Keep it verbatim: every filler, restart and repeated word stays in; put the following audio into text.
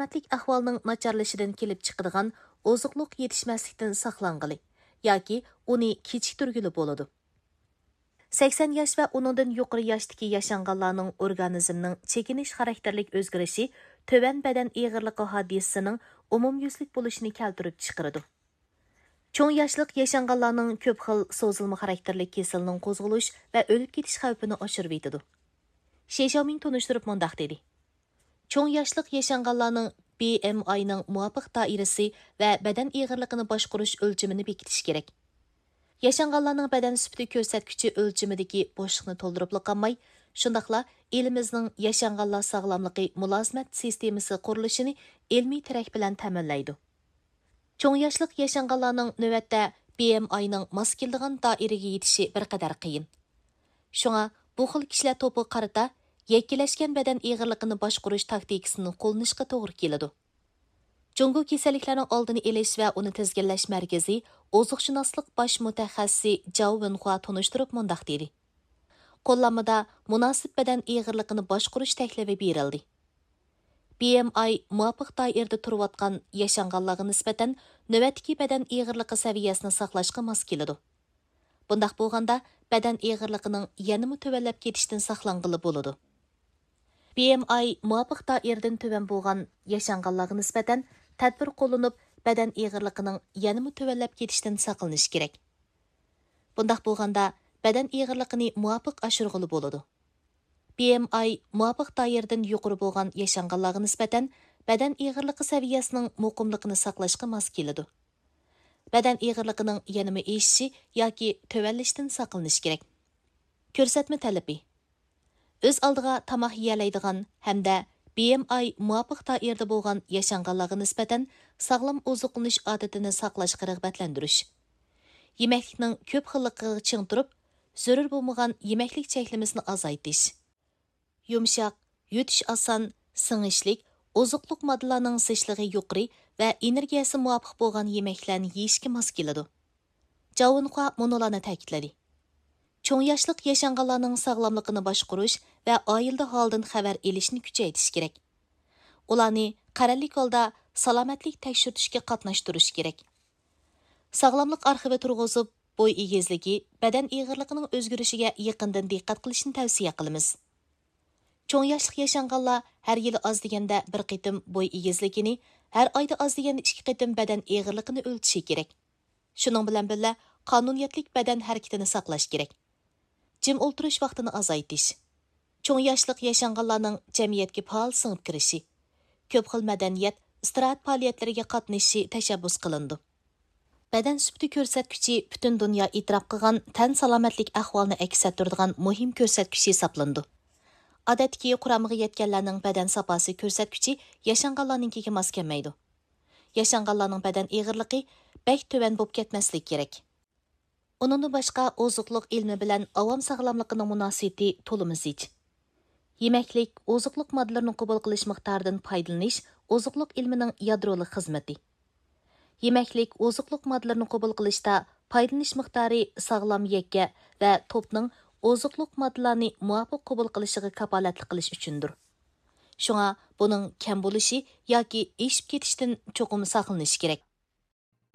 سالامەتلىك ئەھۋالىنىڭ ناچارلىشىشىدىن كېلىپ چىقىدىغان ئوزۇقلۇق يېتىشمەسلىكتىن ساقلانغىلى ياكى ئۇنى كېچىكتۈرگىلى بولىدۇ. سەكسەن ياش ۋە ئۇنىڭدىن يۇقىرى ياشتىكى ياشانغانلارنىڭ ئورگانىزمنىڭ چېكىنىش خاراكتېرلىك ئۆزگىرىشى تۆۋەن بەدەن ئېغىرلىقى ھادىسىسىنىڭ ئومۇميۈزلۈك بولۇشىنى كەلتۈرۈپ چىقىرىدۇ. چوڭ ياشلىق ياشانغانلارنىڭ كۆپ خىل سوزۇلما خاراكتېرلىك كېسىلىنىڭ قوزغىلىش ۋە ئۆلۈپ كېتىش خەۋپىنى ئاشۇرۇۋېتىدۇ. شى شياۋمىڭ تونۇشتۇرۇپ مۇنداق دېدى: چوڭ ياشلىق ياشانغانلارنىڭ بى ئېم ئاينىڭ مۇۋاپىق دائىرىسى ۋە بەدەن ئېغىرلىقىنى باشقۇرۇش ئۆلچىمىنى بېكىتىش كېرەك. ياشانغانلارنىڭ بەدەن سۈپىتى كۆرسەتكۈچى ئۆلچىمىدىكى بوشلۇقنى تولدۇرۇپلا قالماي، شۇنداقلا ئېلىمىزنىڭ ياشانغانلار ساغلاملىقى مۇلازىمەت سىستېمىسى قۇرۇلۇشىنى ئىلمىي تىرەك بىلەن تەمىنلەيدۇ. چوڭ ياشلىق ياشانغانلارنىڭ نۆۋەتتە بى ئېم ئاينىڭ ماس كېلىدىغان دائىرىگە يېتىشى بىر قەدەر قىيىن. شۇڭا بۇ خىل كىشىلەر توپىغا قارىتا يەككىلەشكەن بەدەن ئېغىرلىقىنى باشقۇرۇش تاكتىكىسىنى قوللىنىشقا توغرا كېلىدۇ. جۇڭگو كېسەللىكلەرنىڭ ئالدىنى ئېلىش ۋە ئۇنى تىزگىنلەش مەركىزى ئوزۇقشۇناسلىق باش مۇتەخەسسىسى جاۋ ۋېنخۇا تونۇشتۇرۇپ مۇنداق دېدى: قوللانمىدا مۇناسىپ بەدەن ئېغىرلىقىنى باشقۇرۇش تەكلىپى بېرىلدى. بى ئېم ئاي مۇۋاپىق دائىرىدە تۇرۇۋاتقان ياشانغانلارغا نىسبەتەن نۆۋەتتىكى بەدەن ئېغىرلىقى سەۋىيەسىنى ساقلاشقا ماس كېلىدۇ. بۇنداق بولغاندا، بەدەن ئېغىرلىقىنىڭ يەنىمۇ تۆۋەنلەپ كېتىشتىن ساقلانغىلى بولىدۇ. بى ئېم ئاي مۇۋاپىق دائىرىدىن تۆۋەن بولغان ياشانغانلارغا نىسبەتەن تەدبىر قوللىنىپ، بەدەن ئېغىرلىقىنىڭ يەنىمۇ تۆۋەنلەپ كېتىشتىن ساقلىنىش كېرەك. بۇنداق بولغاندا، بەدەن ئېغىرلىقىنى مۇۋاپىق ئاشۇرغىلى بولىدۇ. بى ئېم ئاي مۇۋاپىق دائىرىدىن يۇقىرى بولغان ياشانغانلارغا نىسبەتەن بەدەن ئېغىرلىقى سەۋىيەسىنىڭ مۇقىملىقىنى ساقلاشقا ماس كېلىدۇ. بەدەن ئېغىرلىقىنىڭ يەنىمۇ ئېشىشى ياكى تۆۋەنلىشىدىن ساقلىنىش كېرەك. كۆرسەتمە تەلىپى: ئۆز ئالدىغا تاماق يېيەلەيدىغان ھەمدە بى ئېم ئاي مۇۋاپىق دائىرىدە بولغان ياشانغانلارغا نىسبەتەن ساغلام ئوزۇقلىنىش ئادىتىنى ساقلاشقا رىغبەتلەندۈرۈش. يېمەكلىكنىڭ كۆپ خىللىقىغا چىڭ تۇرۇپ، زۆرۈر بولمىغان يېمەكلىك چەكلىمىسىنى ئازايتىش. يۇمشاق، يۇتۇش ئاسان، سىڭىشلىك، ئوزۇقلۇق ماددىلارنىڭ زىچلىقى يۇقىرى ۋە ئېنېرگىيەسى مۇۋاپىق بولغان يېمەكلەرنى يېيىشكە ماس كېلىدۇ. جاۋ ۋېنخۇا مۇنۇلارنى تەكىتلىدى: چوڭ ياشلىق ياشانغانلارنىڭ ساغلاملىقىنى باشقۇرۇش ۋە ئائىلىدە ھالىدىن خەۋەر ئېلىشنى كۈچەيتىش كېرەك. ئۇلارنى قەرەللىك ھالدا سالامەتلىك تەكشۈرتۈشكە قاتناشتۇرۇش كېرەك. ساغلاملىق ئارخىۋى تۇرغۇزۇپ، بوي ئېگىزلىكى، بەدەن ئېغىرلىقىنىڭ ئۆزگىرىشىگە يېقىندىن دىققەت قىلىشنى تەۋسىيە قىلىمىز. چوڭ ياشلىق ياشانغانلار ھەر يىلى ئاز دېگەندە بىر قېتىم بوي ئېگىزلىكىنى، ھەر ئايدا ئاز دېگەندە ئىككى قېتىم بەدەن ئېغىرلىقىنى ئۆلچىشى كېرەك. شۇنىڭ بىلەن بىللە، قانۇنىيەتلىك بەدەن ھەرىكىتىنى ساقلاش كېرەك. جىم ئولتۇرۇش ۋاقتىنى ئازايتىش. چوڭ ياشلىق ياشانغانلارنىڭ جەمئىيەتكە پائال سىڭىپ كىرىشى، كۆپ خىل مەدەنىيەت، ئىستىراھەت پائالىيەتلىرىگە قاتنىشىشى تەشەببۇس قىلىنىدۇ. بەدەن سۈپىتى كۆرسەتكۈچى پۈتۈن دۇنيا ئېتىراپ قىلغان تەن سالامەتلىك ئەھۋالىنى ئەكس ئەتتۈرىدىغان مۇھىم كۆرسەتكۈچ ھېسابلىنىدۇ. ئادەتتىكى قۇرامىغا يەتكەنلەرنىڭ بەدەن ساپاسى كۆرسەتكۈچى ياشانغانلارنىڭكىگە ماس كەلمەيدۇ. ياشانغانلارنىڭ بەدەن ئېغىرلىقى بەك تۆۋەن بولۇپ كەتمەسلىكى كېرەك. ئۇنىڭدىن باشقا، ئوزۇقلۇق ئىلمى بىلەن ئاۋام ساغلاملىقىنىڭ مۇناسىۋىتى تولىمۇ زىچ. يېمەكلىك، ئوزۇقلۇق ماددىلىرىنى قوبۇل قىلىش مىقدارىدىن پايدىلىنىش ئوزۇقلۇق ئىلمىنىڭ يادرولۇق خىزمىتى. يېمەكلىك، ئوزۇقلۇق ماددىلىرىنى قوبۇل قىلىشتا پايدىلىنىش مىقدارى ساغلام يەككە ۋە توپنىڭ ئوزۇقلۇق ماددىلارنى مۇۋاپىق قوبۇل قىلىشىغا كاپالەتلىك قىلىش ئۈچۈندۇر. شۇڭا بۇنىڭ كەم بولۇشى ياكى ئېشىپ كېتىشتىن چوقۇم ساقلىنىش كېرەك.